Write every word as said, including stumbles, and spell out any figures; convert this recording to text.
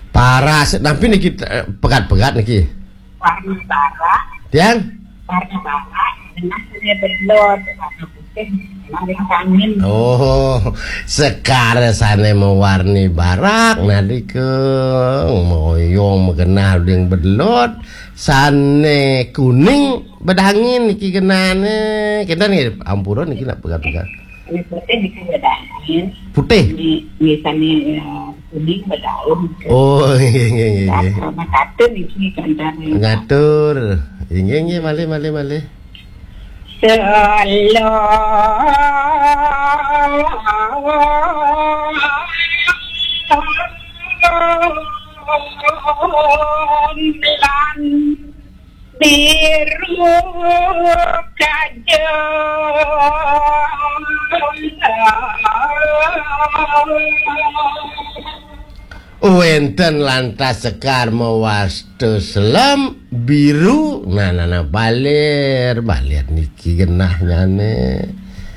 Paras, tapi niki, eh, pegat-pegat niki. Warna barak. Tiang? Warna barak, genah sane belot, warna putih, maring angin. Oh, sekar sane mawarni barak, nadike moyong magenah ring belot, sane kuning bedangin niki genahne. Kinten nggih, ampura niki nak pegat-pegat. Ini putih niki bedangin. Putih? Ini, ini sane, eh, kuning bedaun. Oh, nggih, nggih, nggih, nggih. Ngatur niki kancane. Ngatur. Nggih, nggih, malih, malih, malih. Selon lan biru kaja. Wenten lantas sekar mawasta selem biru. Nah, nah, nah, balir, balir niki genahnyane.